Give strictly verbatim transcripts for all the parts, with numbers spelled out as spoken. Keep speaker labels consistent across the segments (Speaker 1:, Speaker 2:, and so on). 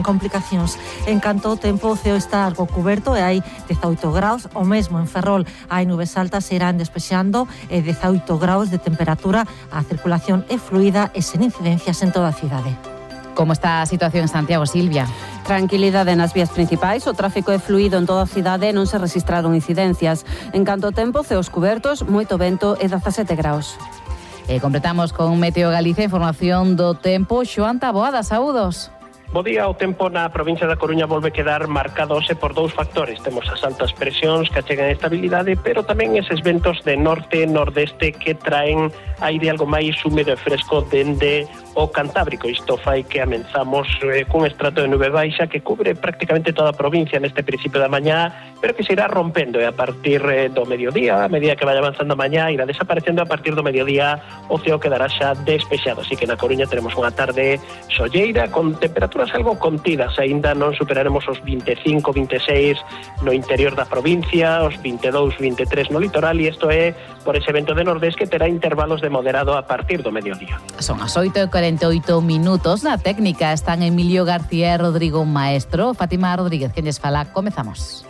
Speaker 1: complicacións. En canto ao tempo, o ceo está algo cuberto e hai dezaoito graus, o mesmo en Ferrol hai nubes altas e irán despexando e dezaoito graus de temperatura, a circulación é fluida e sen incidencias en toda a cidade.
Speaker 2: Como está a situación en Santiago, Silvia?
Speaker 3: Tranquilidade nas vías principais, o tráfico é fluido en toda a cidade e non se rexistraron incidencias. En canto ao tempo, ceos cubertos, moito vento e dezasete graus.
Speaker 2: E completamos con Meteo Galicia, información do tempo. Xoán Taboada, saúdos.
Speaker 4: Bo día, o tempo na provincia da Coruña volve quedar marcado hoxe por dous factores. Temos as altas presións que achegan estabilidade, pero tamén eses ventos de norte e nordeste que traen aire algo máis húmedo e fresco dende o Cantábrico. Isto fai que amenzamos eh, cun estrato de nube baixa que cubre prácticamente toda a provincia neste principio da mañá, pero que se irá rompendo e a partir eh, do mediodía, a medida que vaya avanzando a mañá, irá desaparecendo. A partir do mediodía o ceo quedará xa despexado, así que na Coruña teremos unha tarde solleira con temperaturas algo contidas. Aínda non superaremos os vinte e cinco, vinte e seis no interior da provincia, os vinte e dous, vinte e tres no litoral, e isto é por ese vento de nordés que terá intervalos de moderado a partir do mediodía.
Speaker 2: Son as oito e cuarenta e oito minutos. Na técnica están Emilio García e Rodrigo Maestro. Fátima Rodríguez, quen lles fala. Comezamos.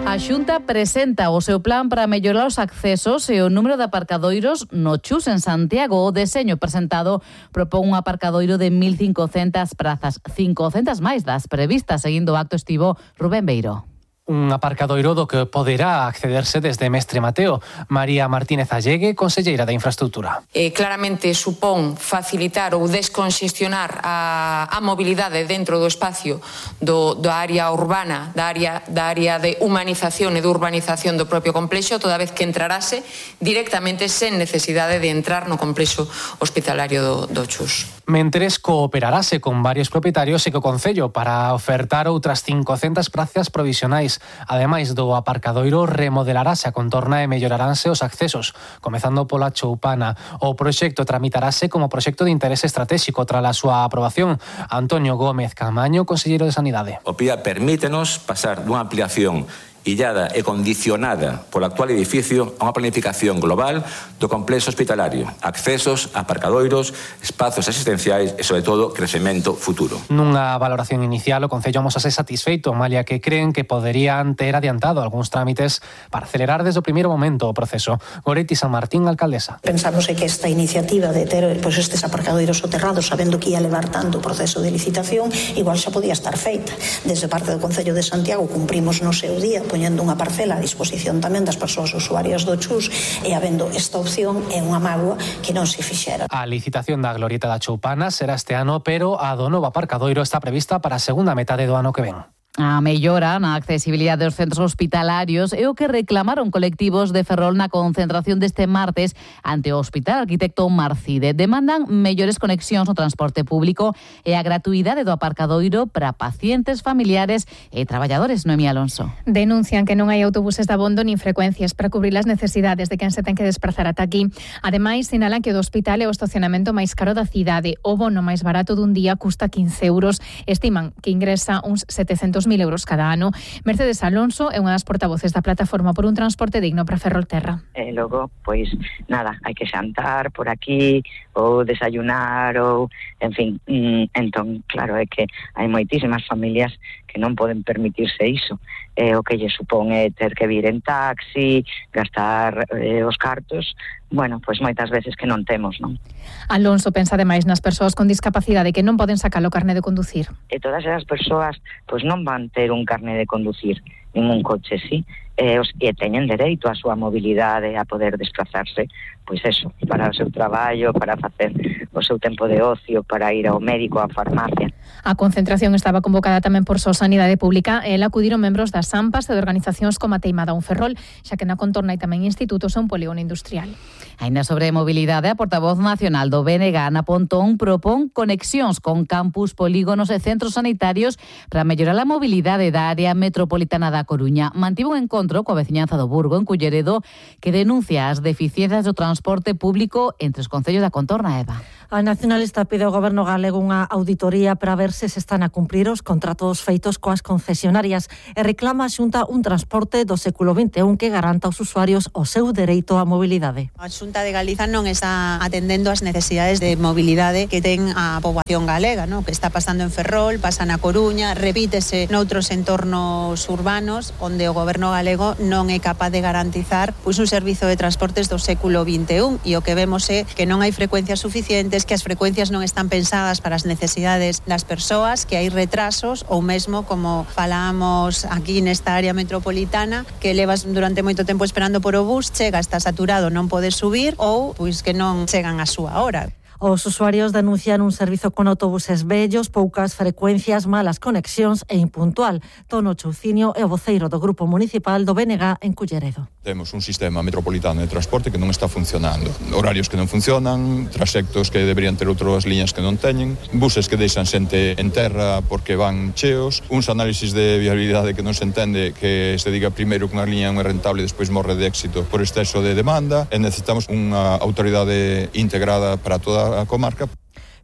Speaker 2: A Xunta presenta o seu plan para mellorar os accesos e o número de aparcadoiros no Chus en Santiago. O deseño presentado propón un aparcadoiro de mil cincocentas prazas, cincocentas máis das previstas. Seguindo o acto estivo Rubén Beiro.
Speaker 5: Un aparcadoiro do que poderá accederse desde Mestre Mateo. María Martínez Allegue, conselleira de Infraestructura.
Speaker 6: Eh, claramente supón facilitar ou desconxestionar a, a mobilidade dentro do espacio do, da área urbana, da área, da área de humanización e de urbanización do propio complexo, toda vez que entrarase directamente sen necesidade de entrar no complexo hospitalario do, do Chus.
Speaker 5: Mentres cooperarase con varios propietarios e co Concello para ofertar outras cincocentas prazas provisionais. Ademais do aparcadoiro, remodelarase a contorna e melloraranse os accesos, comezando pola Choupana. O proxecto tramitarase como proxecto de interese estratégico tras a súa aprobación. Antonio Gómez Camaño, conselleiro de Sanidade.
Speaker 7: O P I A permítenos pasar dunha ampliación illada e condicionada polo actual edificio a unha planificación global do complexo hospitalario, accesos, aparcadoiros, espazos asistenciais e, sobre todo, crecemento futuro.
Speaker 5: Nunha valoración inicial, o Concello amosase satisfeito, malia que creen que poderían ter adiantado algúns trámites para acelerar desde o primeiro momento o proceso. Goretti San Martín, alcaldesa.
Speaker 8: Pensamos que esta iniciativa de ter pois, estes aparcadoiros soterrados, sabendo que ia levar tanto o proceso de licitación, igual xa podía estar feita. Desde parte do Concello de Santiago cumprimos no seu día poñendo unha parcela a disposición tamén das persoas usuarias do Chus e habendo esta opción é unha mágoa que non se fixera.
Speaker 5: A licitación da Glorieta da Choupana será este ano, pero a do novo aparcadoiro está prevista para a segunda metade do ano que ven.
Speaker 2: A mellora na accesibilidade dos centros hospitalarios é o que reclamaron colectivos de Ferrol na concentración deste martes ante o Hospital Arquitecto Marcide. Demandan mellores conexións no transporte público e a gratuidade do aparcadoiro para pacientes, familiares e traballadores. Noemí Alonso.
Speaker 9: Denuncian que non hai autobuses de abondo nin frecuencias para cubrir as necesidades de quen se ten que desplazar ata aquí. Ademais, sinalan que o do hospital é o estacionamento máis caro da cidade. O bono máis barato dun día custa quince euros. Estiman que ingresa uns setecentos mil euros cada ano. Mercedes Alonso é unha das portavoces da plataforma por un transporte digno para Ferrolterra.
Speaker 10: E logo, pois, nada, hai que xantar por aquí, ou desayunar, ou, en fin, mm, entón, claro, é que hai moitísimas familias que non poden permitirse iso. Eh, o que lle supón é ter que vir en taxi, gastar eh, os cartos, bueno, pois moitas veces que non temos, non?
Speaker 9: Alonso pensa ademais nas persoas con discapacidade que non poden sacar o carné de conducir.
Speaker 10: E todas esas persoas pois non van ter un carné de conducir, nin un coche, sí, e, os, e teñen dereito á súa mobilidade, a poder desplazarse, pois eso, para o seu traballo, para facer o seu tempo de ocio, para ir ao médico, á farmacia.
Speaker 9: A concentración estaba convocada tamén por Só Sanidade Pública e ela acudiron membros das AMPAs e de organizacións como a Teimada un Ferrol, xa que na contorna hai tamén institutos e un polígono industrial.
Speaker 2: Ainda sobre mobilidade, a portavoz nacional do B N G, Ana Pontón, propón conexións con campus, polígonos e centros sanitarios para mellorar a mobilidade da área metropolitana da Coruña. Mantivo un encontro coa veciñanza do Burgo, en Culleredo, que denuncia as deficiencias do transporte público entre os concellos da contorna, Eva.
Speaker 1: A nacionalista pide ao Goberno galego unha auditoría para ver se se están a cumprir os contratos feitos coas concesionarias e reclama a Xunta un transporte do século vinte e un que garanta aos usuarios o seu dereito á mobilidade.
Speaker 11: A Xunta de Galiza non está atendendo as necesidades de mobilidade que ten a poboación galega, ¿no? Que está pasando en Ferrol, pasa na Coruña, repítese noutros entornos urbanos onde o Goberno galego non é capaz de garantizar pois, un servizo de transportes do século vinte e un e o que vemos é que non hai frecuencias suficientes, que as frecuencias non están pensadas para as necesidades das persoas, que hai retrasos ou mesmo, como falábamos aquí nesta área metropolitana, que levas durante moito tempo esperando por o bus, chega, está saturado, non podes subir ou pois que non chegan a súa hora.
Speaker 1: Os usuarios denuncian un servizo con autobuses vellos, poucas frecuencias, malas conexións e impuntual. Tono Chouciño é o voceiro do Grupo Municipal do B N G en Culleredo.
Speaker 12: Temos un sistema metropolitano de transporte que non está funcionando. Horarios que non funcionan, trasectos que deberían ter outras liñas que non teñen, buses que deixan xente en terra porque van cheos, uns análisis de viabilidade que non se entende, que se diga primeiro que unha liña non é rentable e despois morre de éxito por exceso de demanda, e necesitamos unha autoridade integrada para toda a comarca.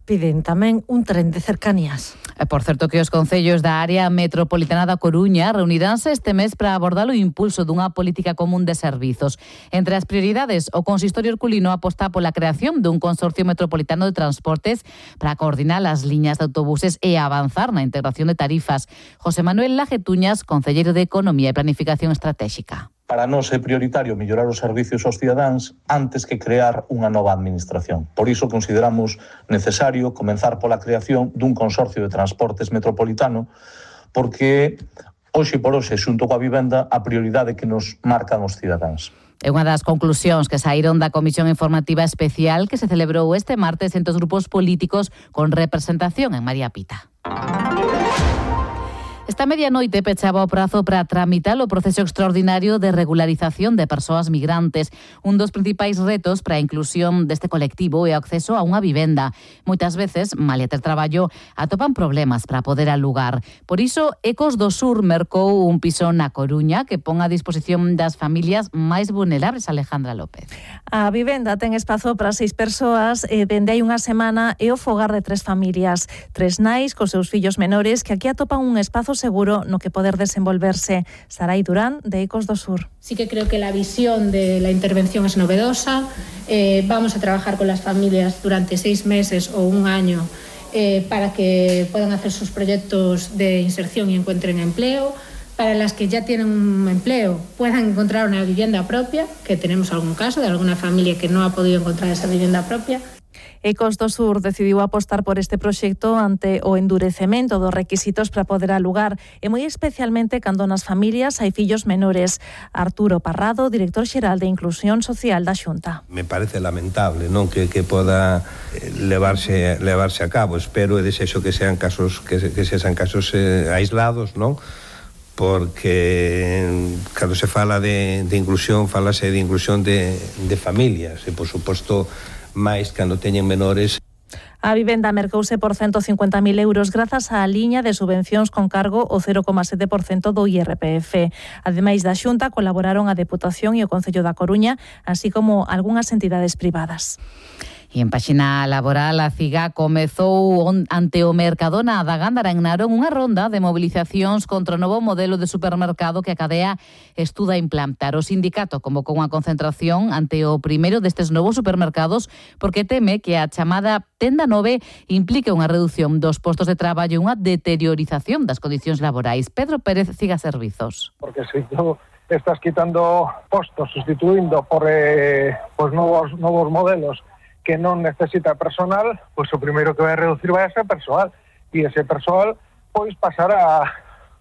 Speaker 1: Piden tamén un tren de cercanías.
Speaker 2: Por certo que os concellos da área metropolitana da Coruña reuniránse este mes para abordar o impulso dunha política común de servizos. Entre as prioridades, o consistorio herculino aposta pola creación dun consorcio metropolitano de transportes para coordinar as liñas de autobuses e avanzar na integración de tarifas. José Manuel Lajetuñas, concelleiro de Economía e Planificación Estratégica.
Speaker 13: Para nós é prioritario mellorar os servicios aos cidadáns antes que crear unha nova administración. Por iso consideramos necesario comenzar pola creación dun consorcio de transportes metropolitano, porque hoxe por hoxe, xunto coa vivenda, a prioridade que nos marcan os cidadáns.
Speaker 2: É unha das conclusións que saíron da Comisión Informativa Especial que se celebrou este martes entre os grupos políticos con representación en María Pita. Esta medianoite pechaba o prazo para tramitar o proceso extraordinario de regularización de persoas migrantes. Un dos principais retos para a inclusión deste colectivo é o acceso a unha vivenda. Moitas veces, malia ter traballo, atopan problemas para poder alugar. Por iso, Ecos do Sur mercou un piso na Coruña que pon a disposición das familias máis vulnerables. Alejandra López.
Speaker 14: A vivenda ten espazo para seis persoas e dende hai unha semana é o fogar de tres familias. Tres nais cos seus fillos menores que aquí atopan un espazo seguro no que poder desenvolverse. Sarai Durán, de Ecos do Sur.
Speaker 15: Sí que creo que la visión de la intervención es novedosa. Eh, vamos a trabajar con las familias durante seis meses o un año eh, para que puedan hacer sus proyectos de inserción y encuentren empleo. Para las que ya tienen un empleo puedan encontrar una vivienda propia, que tenemos algún caso de alguna familia que no ha podido encontrar esa vivienda propia.
Speaker 14: Ecos do Sur decidiu apostar por este proxecto ante o endurecemento dos requisitos para poder alugar e moi especialmente cando nas familias hai fillos menores. Arturo Parrado, director xeral de Inclusión Social da Xunta.
Speaker 16: Me parece lamentable, non, que que poda levarse levarse a cabo. Espero e desexo que sean casos que que sean casos eh, aislados, non? Porque cando se fala de de inclusión, falase de inclusión de de familias e por suposto máis cando teñen menores.
Speaker 14: A vivenda mercouse por ciento cincuenta mil euros grazas á liña de subvencións con cargo o cero coma sete por cento do I R P F. Ademais da Xunta, colaboraron a Deputación e o Concello da Coruña, así como algunhas entidades privadas.
Speaker 2: E en páxina laboral, a CIGA comezou ante o Mercadona da Gándara en Narón unha ronda de movilizacións contra o novo modelo de supermercado que a cadea estuda implantar. O sindicato convocou unha concentración ante o primeiro destes novos supermercados porque teme que a chamada Tenda nove implique unha reducción dos postos de traballo e unha deteriorización das condicións laborais. Pedro Pérez, CIGA Servizos.
Speaker 17: Porque se tú estás quitando postos, sustituindo por eh, pues novos, novos modelos que non necesita personal, pois o primeiro que vai reducir vai a ser persoal, e ese persoal pois pasará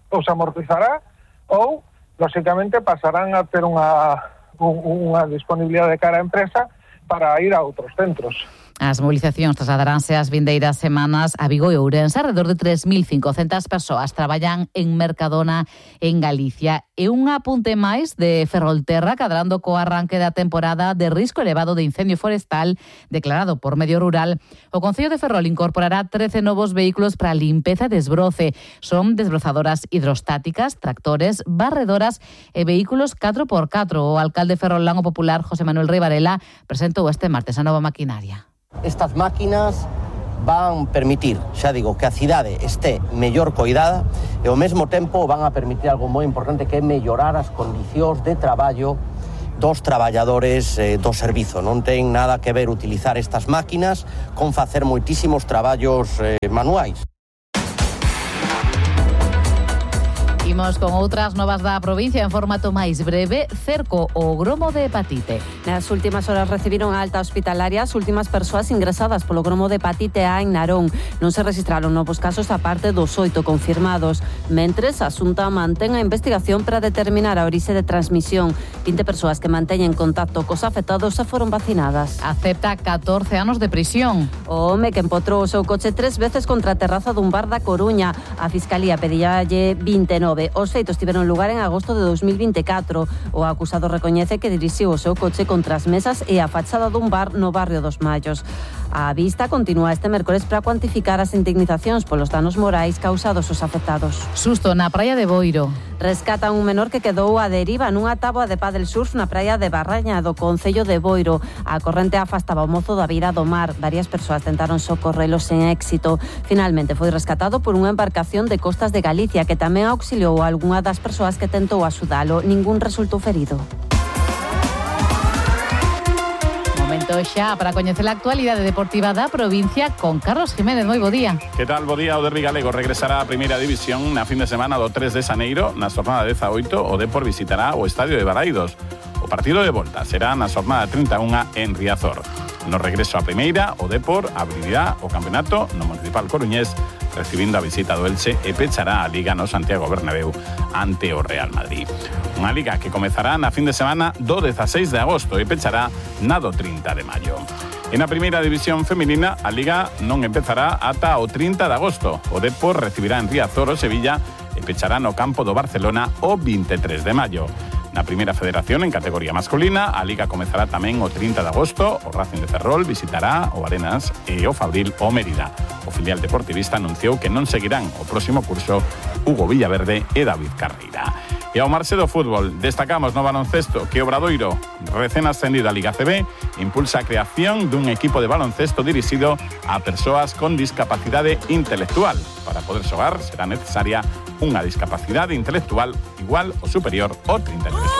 Speaker 17: ou se amortizará ou, lóxicamente, pasarán a ter unha, unha disponibilidade de cara á empresa para ir a outros centros.
Speaker 2: As movilizacións trasladaránse as vindeiras semanas a Vigo e Ourense. Alrededor de tres mil cincocentas persoas traballan en Mercadona en Galicia. E un apunte máis de Ferrolterra, cadrando co arranque da temporada de risco elevado de incendio forestal declarado por Medio Rural. O Concello de Ferrol incorporará trece novos vehículos para limpeza e desbroce. Son desbrozadoras hidrostáticas, tractores, barredoras e vehículos catro por catro. O alcalde ferrolán o popular José Manuel Rei Varela presentou este martes a nova maquinaria.
Speaker 18: Estas máquinas van permitir, xa digo, que a cidade este mellor coidada e ao mesmo tempo van a permitir algo moi importante, que é mellorar as condicións de traballo dos traballadores eh, do servizo. Non ten nada que ver utilizar estas máquinas con facer moitísimos traballos eh, manuais.
Speaker 2: Imos con outras novas da provincia en formato máis breve. Cerco o gromo de hepatite.
Speaker 3: Nas últimas horas recibiron a alta hospitalaria as últimas persoas ingresadas polo gromo de hepatite A en Narón. Non se registraron novos casos a parte dos oito confirmados. Mentres, a Xunta mantén a investigación para determinar a orixe de transmisión. vinte persoas que manteñen contacto cos afectados se foron vacinadas.
Speaker 2: Acepta catorce anos de prisión.
Speaker 3: O home que empotrou o seu coche tres veces contra a terraza dun bar da Coruña. A Fiscalía pedíalle vinte e nove. Os feitos tiveron lugar en agosto de dos mil vinte e catro. O acusado recoñece que dirixiu o seu coche contra as mesas e a fachada dun bar no barrio dos Mallos. A vista continúa este mércores para cuantificar as indemnizacións polos danos morais causados aos afectados.
Speaker 2: Susto na praia de Boiro.
Speaker 3: Rescatan un menor que quedou a deriva nunha táboa de pádel surf na praia de Barraña do concello de Boiro. A corrente afastaba o mozo da beira do mar. Varias persoas tentaron socorrelos sen éxito. Finalmente foi rescatado por unha embarcación de Costas de Galicia que tamén auxiliou a algunha das persoas que tentou axudalo. Ningún resultou ferido.
Speaker 2: Momento xa para coñecer a actualidade deportiva da provincia con Carlos Jiménez. Moi bo día.
Speaker 19: Que tal? Bo día. O derbi galego regresará á primeira división na fin de semana do tres de xaneiro. Na xornada dezaoito, o Depor visitará o estadio de Balaídos. O partido de volta será na xornada trinta e unha en Riazor. No regreso á primeira, o Depor abrirá o campeonato no Municipal Coruñés, recibindo a visita do Elche e pechará a Liga no Santiago Bernabéu ante o Real Madrid. Unha Liga que comezará na fin de semana do dezaseis de agosto e pechará na do trinta de maio. E na primeira división feminina, a Liga non empezará ata o trinta de agosto. O Depor recibirá en Riazor o Sevilla e pechará no campo do Barcelona o vinte e tres de maio. Na primeira federación, en categoría masculina, a Liga comezará tamén o trinta de agosto. O Racing de Ferrol visitará o Arenas e o Fabril o Mérida. O filial deportivista anunciou que non seguirán o próximo curso Hugo Villaverde e David Carreira. E ao marxe do fútbol, destacamos no baloncesto que Obradoiro, recén ascendido a Liga C B, impulsa a creación dun equipo de baloncesto dirixido a persoas con discapacidade intelectual. Para poder xogar será necesaria unha discapacidade intelectual igual ou superior ao trinta e tres.